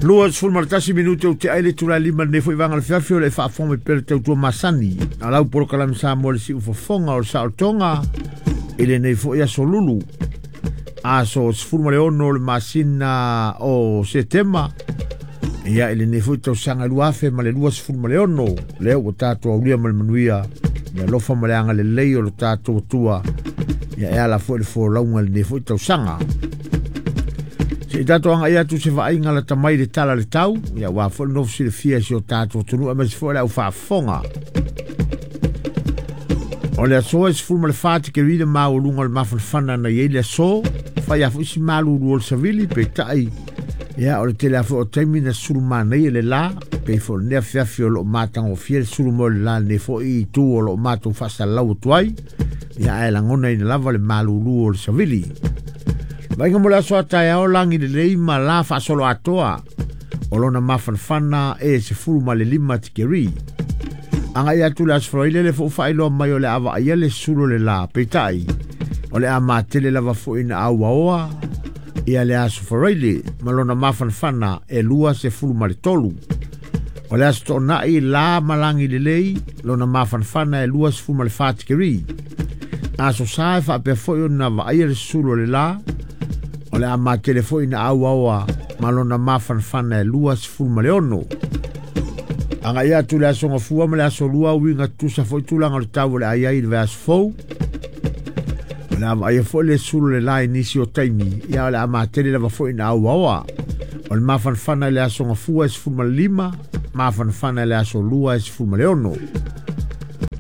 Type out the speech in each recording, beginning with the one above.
21 minute o te ai le itula e 5 lenei foi vaega o le afiafi o le faafofoga mai pea le tautua masani a lau polokalame Samoa le siufofoga o le saolotoga i lenei foi aso lulu aso 16 o le masina o Setema ia i lenei foi tausaga 2026 lea ua tatou aulia ma le manuia ia alofa ma le agalelei o lo tatou Atua ia e ala foi le folauga i lenei foi tausaga. Se i tatou agai atu se vaaiga lata mai le tala le tau, ia aua foi le nofo silafia i si o tatou atunuu aemaise foi le au faafofoga. O le aso e 14 tikeri le maualuga o le mafanafana na i ai le aso, fai a foi si malulu o le savili, peitai, ia o le tele a foi o taimi na sulu manaia le la, pei foi o lenei afiafi o lo o matagofie le sulu mai o le la lenei foi itu o lo o matou faasalalau atu ai, ia ae lagonaina lava le malulu o le savili. Vaaiga mo le aso a taeao lagi lelei ma la faasoloatoa o lona mafanafana e 15 tikeri. Agai atu le aso Faraile le fo'u faailoa mai o le a vaaia le sulu o le la, peitai o le a matele lava foi na auaoa ia le aso Faraile ma lona mafanafana e 23. O le aso Toonai la ma lagi lelei lona mafanafana e 24 tikeri. Aso Sa e faapea foi ona vaaia le sulu o le la, o le a matele foi na auaoa ma lona mafanafana e 26. Agai atu le aso Gafua ma le aso Lua uiga tutusa foi tulaga o le tau o le a i ai i le vaiaso fou. O le a vaaia foi le sulu o le la i nisi o taimi, ia o le a matele lava foi na auaoa. O le mafanafana i le aso Gafua e 15, mafanafana i le aso Lua e 16.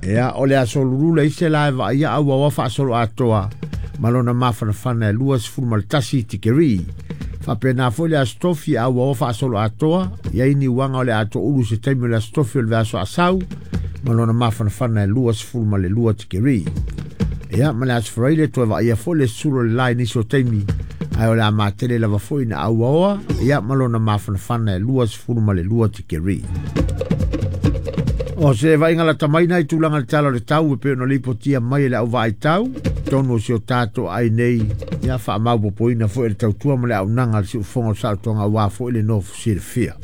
Ia, o le aso Lulu le isi la e vaaia auaoa faasoloatoa ma lona mafanafana e 21 tikeri. Faapena foi le aso Tofi auaoa faasoloatoa, i ai ni uaga o le a toulu se taimi o le aso Tofi o le vaiaso asau ma lona mafanafana e 22 tikeri. Ia, ma le aso Faraile toe vaaia foi le sulu o le la i nisi o taimi, ae o le a matele lava foi na auaoa, ia ma lona mafanafana e 22 tikeri. O se vaaiga lata mai na i tulaga le tala o le tau e pei ona lipotia mai e le au vaaitau tonu o si o tatou ai nei, ia faamaupopoina foi e le tautua ma le auaunaga a le siufofoga o le saolotoga aua foi le nofo silafia.